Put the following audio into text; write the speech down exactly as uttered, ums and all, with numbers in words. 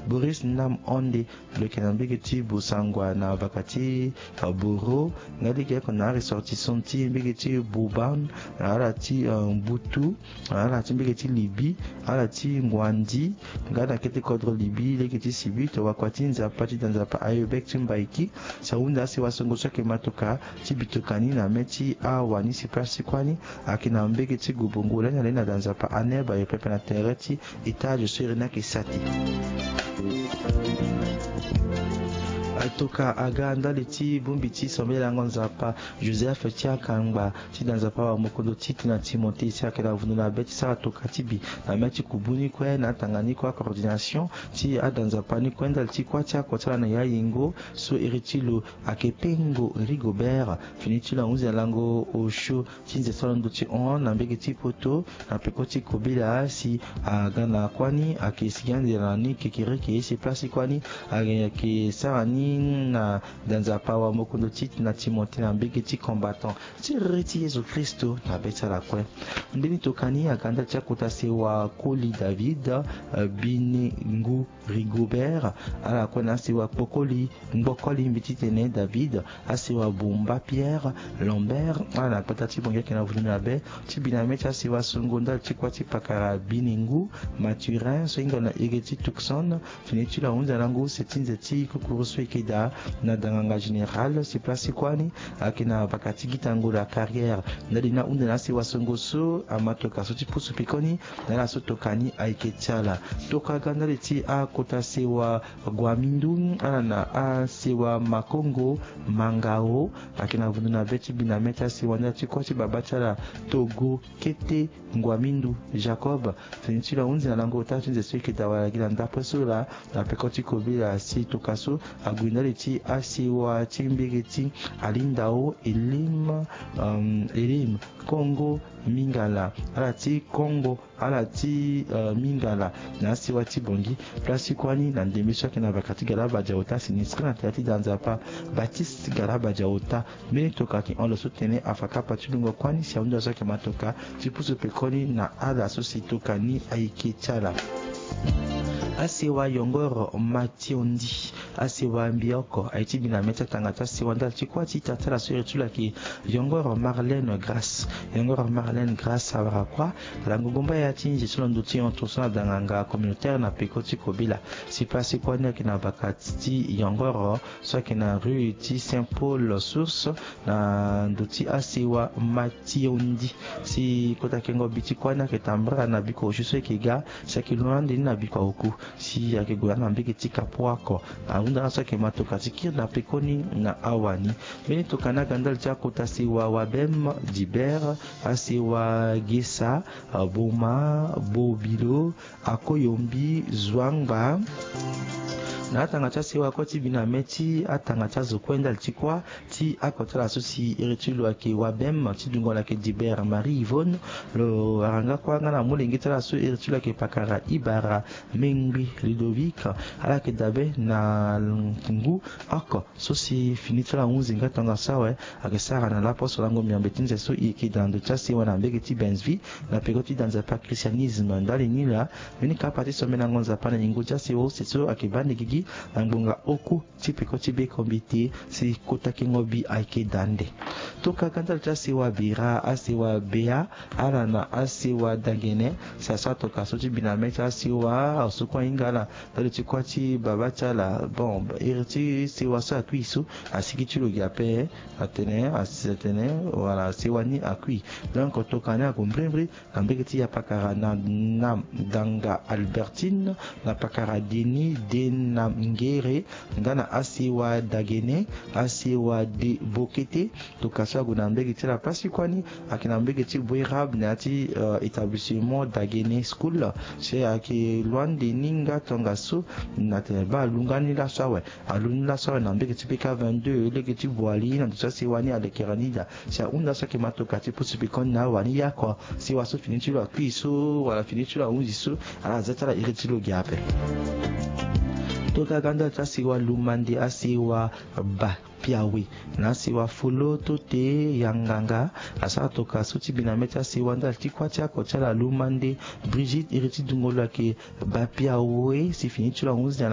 Boris Nam Onde, lo yeke na mbege ti Bosangwa na vaka ti, uh, Boro, nga lege oko na aressortissant ti mbege ti Boban, ala ti, uh, Mbutu, ala ti mbege ti Libi, ala ti Ngwandi, nga na kete kodro Libi, lege ti Sibi, tongana kua ti Nzapa, ti da Nzapa aye bek ti Mbaiki, si ahunda asewa songo so ayeke matoka, ti bitoka ni na mê ti awani si place ti kuâ ni, ayeke na mbege ti Gobongo, lani alani na da Nzapa aneb aye pepe na tere ti étage so iri ni ayeke sati. Atoka aga ndali ti bongbi ti sambela lango Nzapa, Joseph ti akangba, ti da Nzapa wa mokondo ti tene na Timothée si ayeke na vundu na be ti sara toka ti bi, na mê ti kubu ni kue, na atanga ni kue, coordination ti ada Nzapa ni kue, ndali ti kuâ ti oko ti ala na ya yingo, so iri ti lo ayeke Pengo Rigobert, fini ti lo ahunzi na lango osio ti nze ti ala ndo ti hon na mbege ti poto, na peko ti kobela si aga na kuâ ni ayeke sigi ande na ni kekereke, si place ti kuâ ni ayeke sara ni na da Nzapa wa mokondo ti tene na Timothée na mbege ti combattant ti riri ti Yezu Kristo na be ti ala kue. Nde ni toka ni aga ndali ti akota sewa Koli David, eh, Binengu Rigobert, ala kue na asewa Kpokoli, Ngbokoli mbi ti tene David, asewa Bumba Pierre Lambert, ala na gbata ti Bongi ayeke na vundu na be ti bi na mê ti asewa songo ndali ti kuâ ti pakara Binengu Mathurin so hinga na iri ti Tucson, fini ti lo ahunzi na lango use ti nze ti kukuru so e yeke daa na danganga général si place ti kuâ ni ayeke na vaka ti Gitango la Carrière. Ndali ni ahunda na asewa songo so amatoka so ti pusu pekoni na ala so toka ni ayeke ti ala. Toka ga ndali ti akota sewa Guamindu, ala na asewa Makongo Mangao, ayeke na vundu na be ti bi na mê ti asewa ndali ti kuâ ti babâ ti ala Togo Kete Nguamindu Jacob, fini ti lo ahunzi na lango ota ti nze so e yeke daa wala gi na ndapre so laa, na peko ti kobela si toka so ague ndali ti asewa ti mbege ti Alindao Elim, um, Elim Kongo Mingala, ala ti Kongo, ala ti, uh, Mingala, na asewa ti Bongi. Place ti kuâ ni na ndembe so ayeke na vaka ti Galaba Diaota, sinistre na tere ti da Nzapa Baptiste Galaba Diaota. Mbeni toka ayeke hon lo so tene afa kapa ti lungo kuâ ni si ahunda so ayeke ma toka ti pusu pekoni na ala so si toka ni ayeke ti ala. Asewa Yongoro Mationdi, asewa mbi oko aye ti bi na mê ti atanga ti asewa ndali ti kuâ ti ita ti ala so iri ti lo ayeke Yongoro Marlène Grâce. Yongoro Marlène Grâce awara kuâ, ala ngongo mba ya ti nze ti lo ndo ti hon tongaso na danganga communautaire na peko ti kobela. Si place ti kuâ ni ayeke na vaka ti Yongoro so ayeke na rue ti Saint Paul Source, na ndo ti asewa Mationdi. Si kota kengo bi ti kuâ ni ayeke tambara na bikua osio so e yeke ga, si ayeke londo ande ni na bikua oku, si ayeke gue na mbege ti Kapoako. Ahunda na ala so ayeke ma toka ti kiri na pekoni na awani. Mbeni toka ni aga ndali ti akota sewa Wabem, Dibert, asewa Gesa, Boma, Bobilo, Akoyombi, Zwangba. Na atanga ti asewa kue ti bi na mê ti atanga ti azo kue ndali ti kuâ ti oko ti ala so si iri ti lo ayeke Wabem, ti dungo lo ayeke Dibert Marie Yvonne, lo wara nga kuâ nga na molenge ti ala so iri ti lo ayeke pakara Ibara Mengbi Ludovic. Ala yeke dabe na ngu oko so si fini ti ala ahunzi nga tongaso awe, ayeke sara na laposo lango miombe ti nze so e yeke daa na ndo ti asewa na mbege ti Benz-Vie, na peko ti da Nzapa christianisme. Ndali ni laa, mbeni kapa ti sombe na ngonza pa na yingo ti asewa use so ayeke baa ande gigi na ngbonga oku ti peko ti be kombite, si kota kengo bi ayeke daa ande. Toka ga ndali ti asewa Bira, asewa Bea, ala na asewa Dagene, si asara toka so ti bi na mê ti asewa, aso kue ahinga ala ndali ti kuâ ti babâ ti ala. Bon, iri ti sewa so akui so, asigi ti lo gi ape, atene, asi atene, wala sewa ni akui. Donc, toka ni ague mbrimbri na mbege ti ya pakara na, na Danga Albertine, na pakara Denis Denamngere, nga na asewa Dagene, asewa De Bokete. Toka so ague na mbege ti ala place ti kuâ ni, ayeke na mbege ti Boerab na ya ti, euh, établissement Dagene School. Si ayeke loin de ni nga tongaso, na tene baa alu nga ni laso awe. Alu ni laso awe na mbege ti P K vingt-deux, lege ti Boali, na ndo ti asewa ni alekere ni daa. Si ahunda so ayeke ma toka ti pusu pekoni na awani ya oko, sewa so fini ti lo akui so, wala fini ti lo ahunzi so, ala za ti ala iri ti lo gi ape. Toka ga ndali ti asewa Lumande, asewa Ba Piawe, na asewa Folo Tote Yanganga, asara toka so ti bi na mê ti asewa ndali ti kuâ ti oko ti ala Lumande Brigitte, iri ti dungo lo ayeke Ba Piawe, si fini ti lo ahunzi na